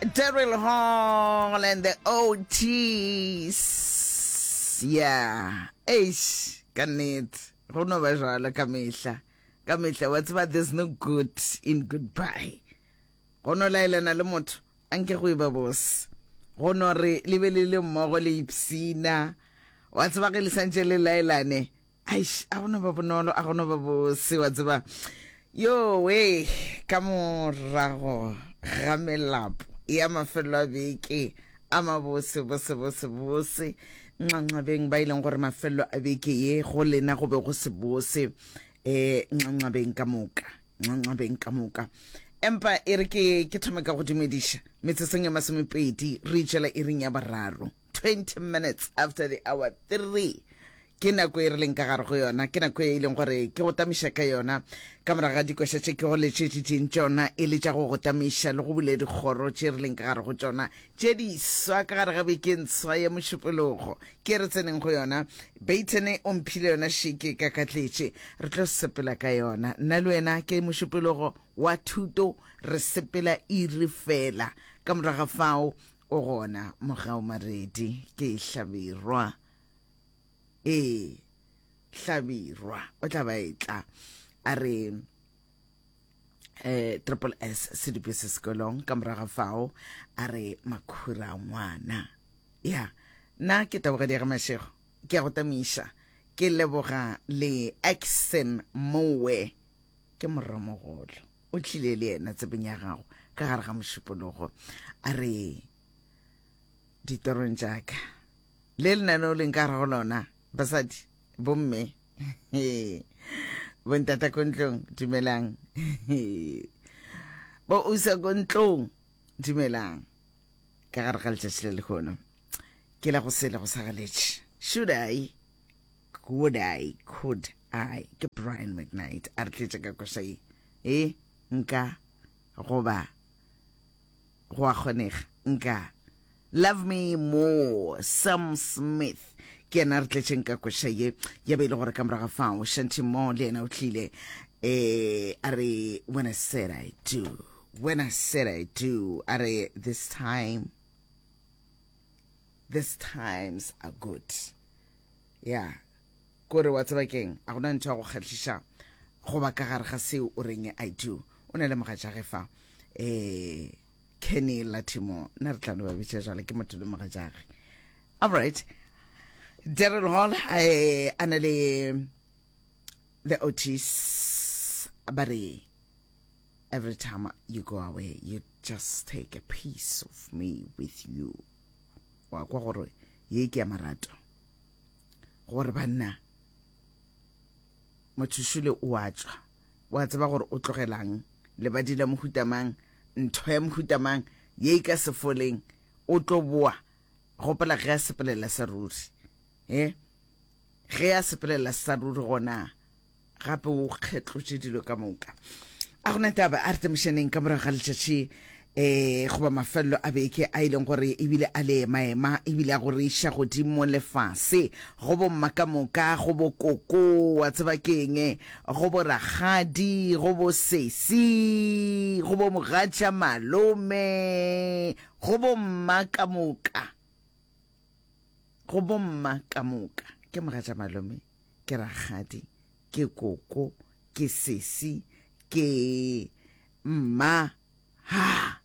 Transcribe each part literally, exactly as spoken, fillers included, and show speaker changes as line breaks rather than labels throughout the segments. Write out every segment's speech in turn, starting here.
Daryl Hall and the Ots. Yeah. Eish, ka nnete. Go no ba jwalo ka mehla. Ka mehla wa tseba there's no good in goodbye. Go no laelana le motho a nke go e ba bose. Go no re le be le le mmogo le ipsina. Wa tseba ge le santše le laelane. Aish, a go no ba bonolo, a go no ba bose, wa tseba. Yo we, ka morago ga melapo ya mafelelo a beke a mabose bose bose bose nxanxabeng ba e leng gore mafelelo a beke ye go lena go be go se bose um nxanxabeng ka moka nxanxabeng ka moka empa e re ke ke thome ka go dumediša metsotsong ya masomepedi re itšela iring ya boraro twenty minutes after the hour three ke nako e re leng ka gare go yona ke nako e leng gore ke go tamiša ka yona ka morago ga dikoša tše ke go letšetšitšeng tšona e le tša go go tamiša le go bule dikgoro tše re leng ka gare go tšona tše diswa ka gare ga bekeng swa ya mošupologo ke re tseneng go yona Baton o mphile yona šeke ka katletše re tlo sepela ka yona nna le wena ke mošupologo wa thuto re sepela iri fela ka morago ga fao o gona mogao maredi ke hlabirwa ee hlabirwa o tla ba etla a re eh triple S sedupe se sekolong ka morago fao a re makhura ngwana ya nna ke tabogedi ya ga Mashego ke ya go tamiša ke leboga le Axon Mowe ke morramogolo o tlile le yena tsebeng ya gago ka gare ga mošupologo a re ditorong tšaka le lenaneo leng ka gare go lona basadi bomme bontata ko ntlong dumelang bo usa ko ntlong dumelang ka gare ga letšatši le lekgono ke la go sele go sa galetše should I would I could I ke Brian McKnight a re tletše ka koša ye e nka goba go a kgonega nka Love Me More Sam Smith ke yena re tletšeng ka koša ye ya be e le gore ka morago fao Shanti Mo le yena o tlile eh a re when I said I do when I said I do a re this time this times are good ya kore wa tseba keng a gona ntho ya go kgahliša goba ka gare ga seo o reng I do o na le mogatšage fa eh Kenny Latimo nna re tla no ba bitša jale ke motho le mogatšage alright Daryl Hall eh, a na le the Otis ba re every time you go away you just take a piece of me with you wa kwa gore ye ke ya marato gore banna motho o a tšwa wa tseba gore o tlogelang lebadi la mohutamang ntho ya mohutamang ye e ka se foleng o tlo boa gopola ge a sepelela sa ruri e ge a sepelela sa ruri gona gape o kgetlotše dilo ka moka a gona taba a re temošaneng ka morago ga letšatši eh goba mafelelo a beke a e leng gore ebile a le emaema ebile a go re iša godimo lefase go bomma ka moka go bo koko wa tseba keng go bo rakgadi go bo sesi go bo mogatša malome go bo mma ka moka go bomma ka moka ke mogatša malome ke rakgadi ke koko ke sesi ke mma ha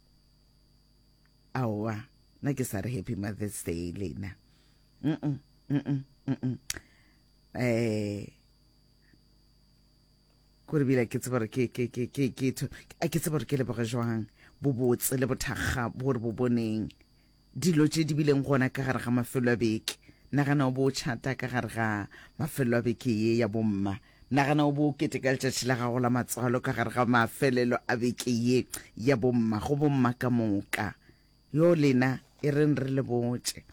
aowa nna ke sa re happy mother's day lena mm -mm, mm -mm, mm -mm. eh kore bile ke tseba gore ke ke ke ke ke a ke tseba gore ke leboge jwang bobotse le bothakga bo re bo boneng dilo tše di bileng gona ka gare ga mafelo a beke nagana o bo o tšhata ka gare ga mafelo a beke ye ya bomma nagana o bo o keteka letšatši la gago la matswalo ka gare ga mafelelo a beke ye ya bomma go bomma ka moka yo lena e reng re le botše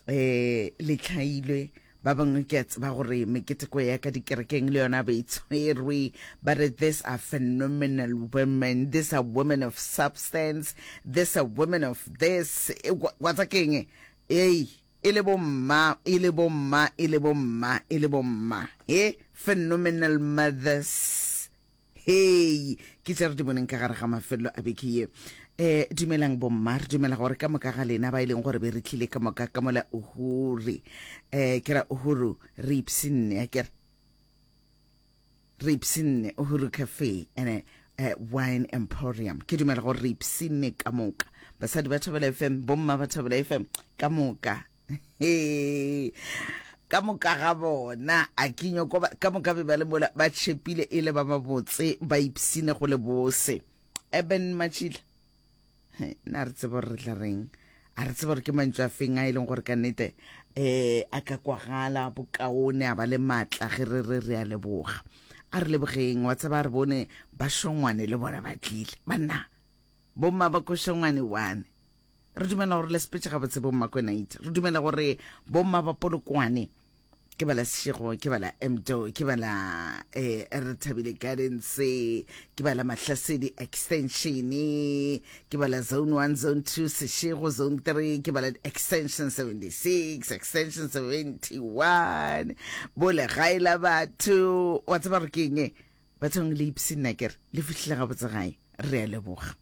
um le tlhailwe ba bangwe ke a tseba gore meketeko ya ka dikerekeng le yona ba e tshwerwe ba re these are phenomenal women these are women of substance these are women of this wa tsa keng ei e le bomma e le bomma e le bomma e le bomma he phenomenal mothers Hei, ke tše re di boneng ka gare ga mafelelo a beke ye. Um dumelang bomma, re dumela gore ka moka ga lena ba e leng gore be re tlile ka moka ka mola Uhuru, um ke ra Uhuru, re ipshinne, a kere re ipshinne Uhuru Cafe and uh, Wine Emporium. Ke dumela gore re ipshinne ka moka, basadi ba Thobela F M, bomma ba Thobela F M ka moka. He, ka moka ga bona, a ke nyoko ba, ka moka be ba le mola ba tšhepile e le ba mabotse, ba ipshine go le bose. Eben Matšhila, nna re tsebe gore re tla reng, a re tsebe gore ke mantšu a feng a e leng gore ka nnete um a ka kwagala bokaone, a ba le maatla ge re re re a leboga. A re lebogeng, wa tseba re bone ba šongwane le bona ba tlile, banna bomma ba ko šongwane one. Re dumela gore le sepetse gabotse bomma Kwenaite, re dumela gore bomma ba Polokwane, ke ba la Seshego, ke ba la Mdo, ke ba la eh, re Thabile Gardens, ke ba la Mahlasedi Extension, ke ba la Zone one, Zone two, Seshego, Zone three, ke ba la Extension seventy-six, Extension seventy-one, bo legae la batho. Wa tseba gore ke eng? Bathong le ipshinna kere le fihlile gabotse gae. Re a leboga,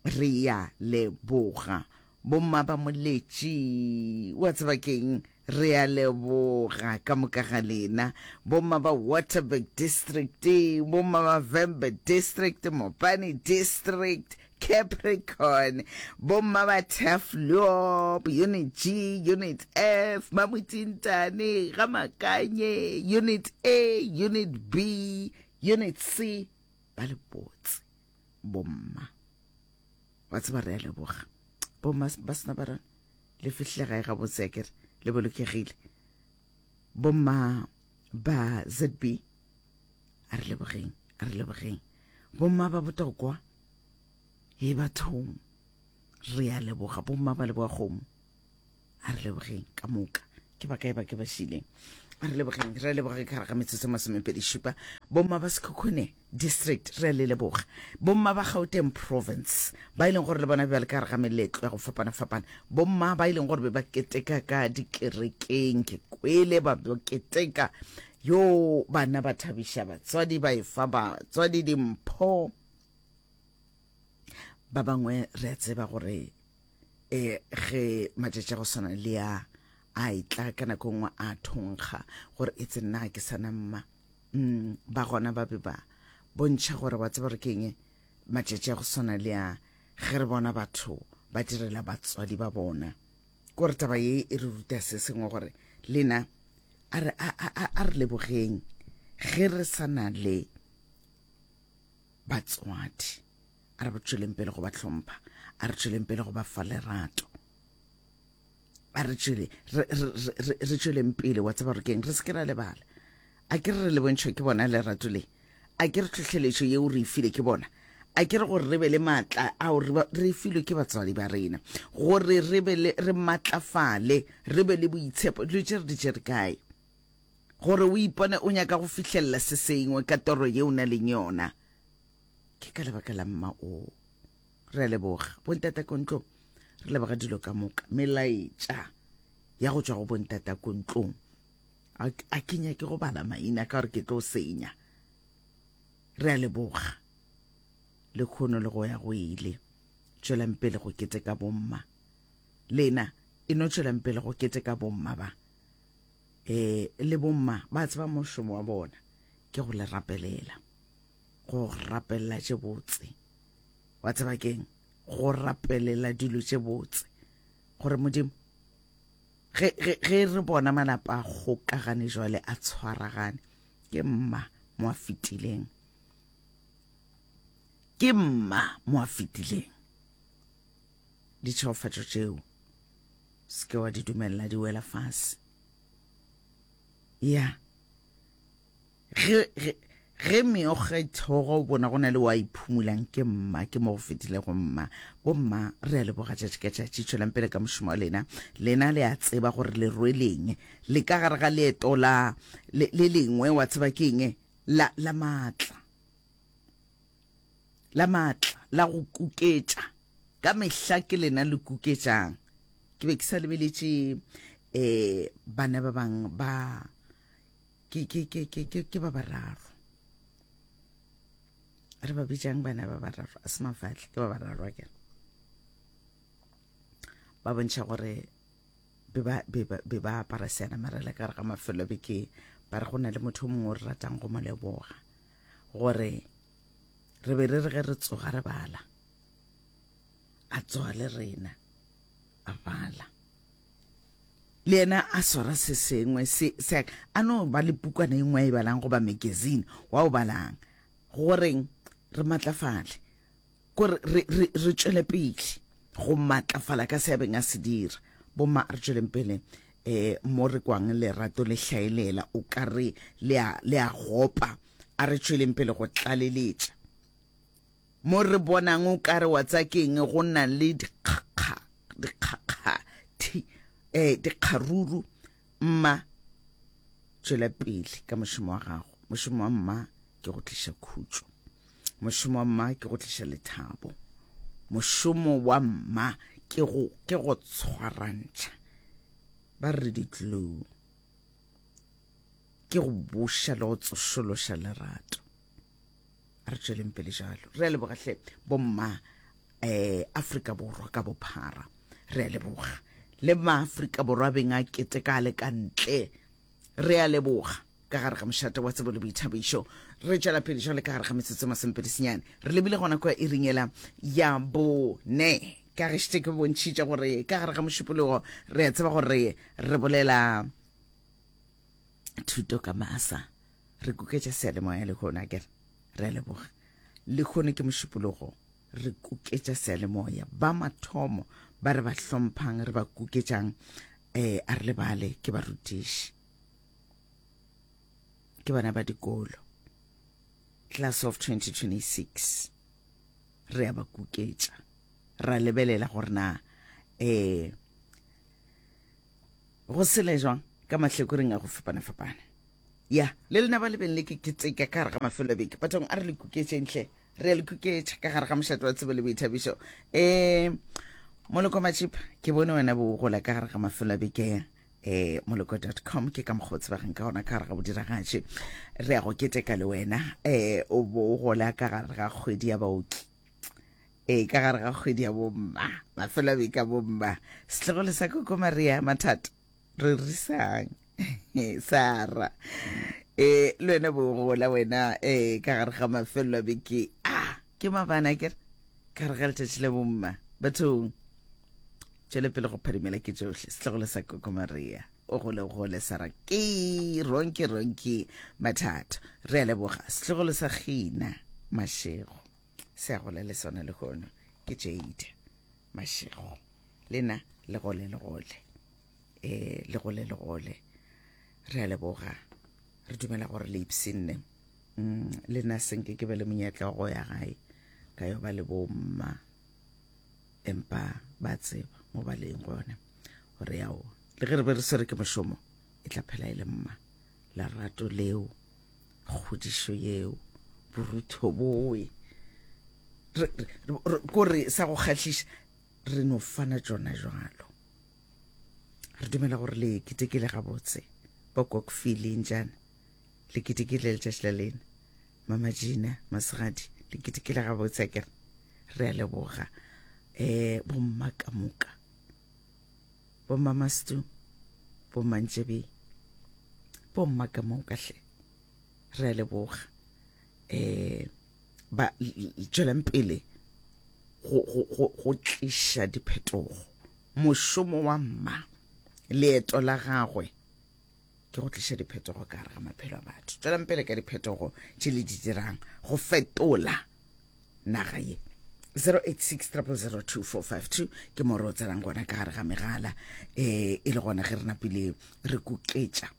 re ya leboga bomma ba Moletši, wa tseba keng, re a leboga ka moka ga lena, bomma ba Waterberg District, bomma ba Vhembe District, Mopani District, Capricorn, bomma ba Turfloop, Unit G, Unit F, Mamutintane, Gamakanye, Unit A, Unit B, Unit C, ba le botse bomma, wa tseba re a leboga bomma ba sena ba rona, le fihlile gae gabotse akere, le bolokegile. Bomma ba Z B, a re lebogeng, a re lebogeng. Bomma ba Botokwa, he bathong, re a leboga. Bomma ba leboga kgomo, a re lebogeng ka moka. Ke ba kae ba ke ba šileng? A re lebogeng, re a leboga ka gare ga metsotso e masomepedi šupa. Bomma ba Sekhukhune District, re a le leboga. Bomma ba Gauteng Province, ba e leng gore le bona bjale ka gare ga meletlo ya go fapana-fapana. Bomma ba e leng gore be ba keteka ka dikerekeng, ke kwele ba ba keteka, yo bana ba thabiša batswadi, ba efa batswadi dimpho. Ba bangwe re a tseba gore eh ge matšatši a go swana le a a etla ka nako nngwe a thonkga gore e tse nna ke sana mma. Mm, ba gona ba be ba bontšha gore wa tseba gore ke eng, matšatši a go swana le a ge re bona batho ba direla batswadi ba bona. Ke gore taba ye e re ruta se sengwe gore lena a re, a, a, a, a re lebogeng ge re sa na le batswadi, a re ba tšweleng pele go ba hlompha, a re tšweleng pele go ba fa lerato, a re tšwele, re, re, re, re, re tšweleng pele, wa tseba gore ke eng, re se ke ra lebala. A ke re re le bontšhwe ke bona lerato le, a ke re tlhohleletšo yeo re e file ke bona, a ke re gore re be le maatla ao re ba, re filwe ke batswadi ba rena, gore re be le, re matlafale, re be le boitshepo. Dilo tše re di tšere kae? Gore o ipone o nyaka go fihlelela se sengwe ka toro yeo o na leng yona, ke ka lebaka la mma o. Re a leboga bontata ko ntlong, re leboga dilo ka moka, melaetša ya go tšwa go bontata ko ntlong. A, a ke nyake go bala maina ka gore ke tlo senya. Re a leboga le kgono le go ya go ile. Tšwelang pele go keteka bomma, lena e no tšwelang pele go keteka bomma ba, eh, le bomma ba tseba mošomo wa bona ke go le rapelela, go rapelela tše botse. Wa tseba keng? Go rapelela dilo tše botse, gore Modimo ge, ge, ge re bona malapa a kgokagane jwale a tshwaragane, ke mma mo a fetileng, ke mma mo a fetileng. Ditšhegofatšo tšeo se ke wa di dumella di wela fase. Ya ge, ge, ge meokgo e theoga o bona go na le wa iphumulang, ke mma, ke mo go fetilego mma. Bomma re a leboga tšatši ka tšatši, tšwelang pele ka mošomo wa lena. Lena le a tseba gore le rweleng, le ka gare ga leeto la le, le lengwe, wa tseba ke eng, la, la maatla, la maatla la go kuketša. Ka mehla ke lena le kuketšang. Ke be ke sa lebeletše, eh, bana ba bang ba ke, ke, ke, ke, ke, ke ba bararo. Re ba bitšang bana ba bararo, a se mafatle, ke ba bararo akere. Ba bontšha gore be ba, be ba, be ba apara seanamarela ka gare ga mafelo a beke, ba re go na le motho o mongwe o re ratang go mo leboga, gore re be re re ge re tsoga re bala, a tsoga le rena a bala. Le yena a swara se sengwe se, se a no ba le pukwana e nngwe a e balang goba magazine wa o balang, goreng re matlafale, kore re, re, re tšwele pele go matlafala ka se a beng a se dira. Bomma, a re tšweleng pele eh mo re kwang lerato le hlaelela, o ka re le a, le a gopa. A re tšweleng pele go tlaleletša mo re bonang o ka re wa tsa keng go na le dikgakga, dikgakga thi, eh, dikgaruru. Mma, tšwela pele ka mošomo wa gago. Mošomo wa mma ke go tliša khutšo, mošomo wa mma ke go tliša lethabo, mošomo wa mma ke go, ke go tshwarantšha, ba re ditlou, ke go buša le go tsošološa lerato. A re tšweleng pele jalo. Re a leboga hle bomma, eh, Afrika Borwa ka bophara, re a leboga. Le maAfrika Borwa beng a keteka le ka ntle, re a leboga. Ka gare ga mošate wa tsebo le boithabišo, re tšwela pele jwale ka gare ga metsotso masomepedi senyane. Re lebile gona kwa iring ela ya bone, ka ge šetše ke bontšhitše gore ka gare ga mošupologo re a tseba gore re bolela thuto ka masa, re kuketša seyalemoya lehono akere. Re a leboga. Lehono ke mošupologo, re kuketša seyalemoya. Ba mathomo ba re ba hlomphang, re ba kuketšang, eh, a re lebale ke barutiši, ke bana ba dikolo, class of twenty twenty-six. Re a ba kuketša, ra lebelela gore na, eh, go sele jwang ka mahlekoreng a go fapana-fapana. Ya, le lena ba lebeng le ke keteka ka gare ga mafelo a beke. Bathong, a re le kuketšeng hle, re a le kuketša ka gare ga mošate wa tsebo le boithabišo. Eh, Moloko Matšipa, ke bone wena bo gola ka gare ga mafelo a beke, eh, moloko dot com, ke ka mokgwa o tsebagang ka gona ka gare ga bodiragatši. Re a go keteka le wena, eh, o bo gola ka gare ga kgwedi ya baoki, eh, ka gare ga kgwedi ya bomma, mafelo a beke a bomma. Setlogolo sa Koko Maria Mathata, re risang Sara, eh, le wena bo gola wena, eh, ka gare ga mafelo a beke a, ke mabana akere, ka gare ga letšatši la bomma. Bathong, tšwele pele go phadimela ke tšohle. Setlogolo sa Koko Maria, o gole gole Sara, ke ronki ronki Mathata, re a leboga. Setlogolo sa Gina Mashego, se a gola le sona lehono, ke Jade Mashego. Lena le gole le gole, eh, le gole le gole, re a leboga. Re dumela gore le ipshinne. Mm, le nna senke ke be le monyetla wa go ya gae ka yo ba le bomma, empa ba tseba mo ba leng gona gore yao, le ge re be re swere ke mošomo, e tla phela e le mma. Lerato leo, kgodišo yeo, borutho bowe, re, re, re, kore sa go kgahliša, re no fana tšona jwalo. Re dumela gore le ketekile gabotse, ba kokfile njana, le ketekile letšatši la lena. Mama Gina Masegadi, le ketekile gabotse akere. Re a leboga. Eh, bomma ka moka, bomma Mastu, bomma Ntšebe, bomma ka moka hle, re a leboga. Eh, ba tšwelang pele go, go, go, go tliša diphetogo. Mošomo wa mma, leeto la gagwe ke go tliša diphetogo ka gare ga maphelo a batho. Tšwelang pele ka diphetogo tše le di dirang go fetola naga ye. zero eight six triple zero two four five two ke mo re o tsenang gona ka gare ga megala, eh, e le gona ge re napile re kuketša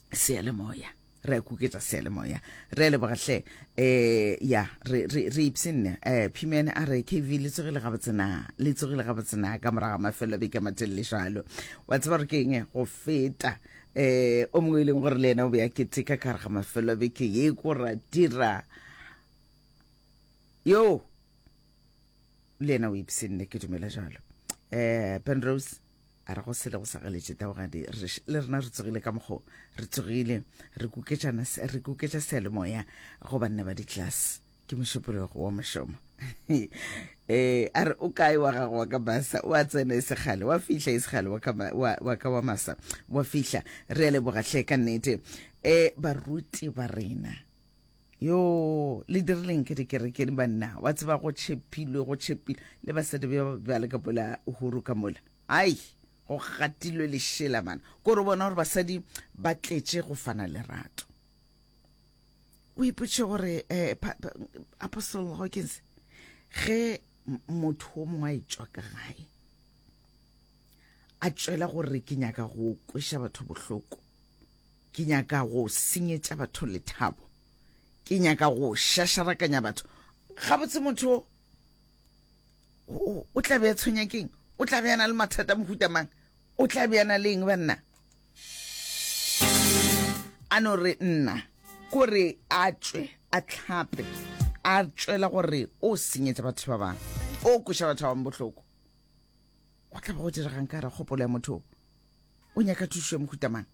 seyalemoya, re a kuketša seyalemoya. Re a leboga hle. Eh, ya, re, re, re ipshinne. Eh, Phimene a re K V le tsogile gabotse na, le tsogile gabotse na ka morago ga mafelo a beke a matelele jwalo. Wa tseba gore ke eng go feta, eh, o mongwe e leng gore le yena o be a keteka ka gare ga mafelo a beke ye ko ra dira yo, le yena o ipshinne, ke dumela jalo. Eh, Penrose A re go sele go sa galetše taogadi, le rena re tsogile ka mokgo re tsogile, re kuketšana, re kuketša seyalemoya go banna ba di-class. Ke mošupologo wa mošomo. Eh, a re o kae wa gago wa ka masa, o a tsena e segale, wa fihla e segale wa ka wa, wa ka wa masa, wa fihla. Re a leboga hle ka nnete. Eh, baruti ba rena, yo le dirileng ke dikerekeng banna, wa tseba go tšhepilwe, go tšhepilwe le basadi ba bjale ka pola uhuru ka mola, ai go gatilwe lešela mana, ko re bona gore basadi ba tletše go fana lerato. O ipotše gore eh, Apostle Hawkins, ge motho o mongwe a etšwa ka gae a tšwela gore ke nyaka go kweša batho bohloko, ke nyaka go senyetša batho lethabo, ke nyaka go šašarakanya batho, gabotse motho o o tla be a tshwenya keng? O tla be a na le mathata mohuta mang? O tla be a na le eng banna? A no re nna kore a tšwe a tlhape a tšwela gore o senyetša batho ba bangwe, o kweša batho ba bangwe bohloko, go tla ba go diregang ka re kgopolo ya motho o nyaka thušo ya mohuta mang?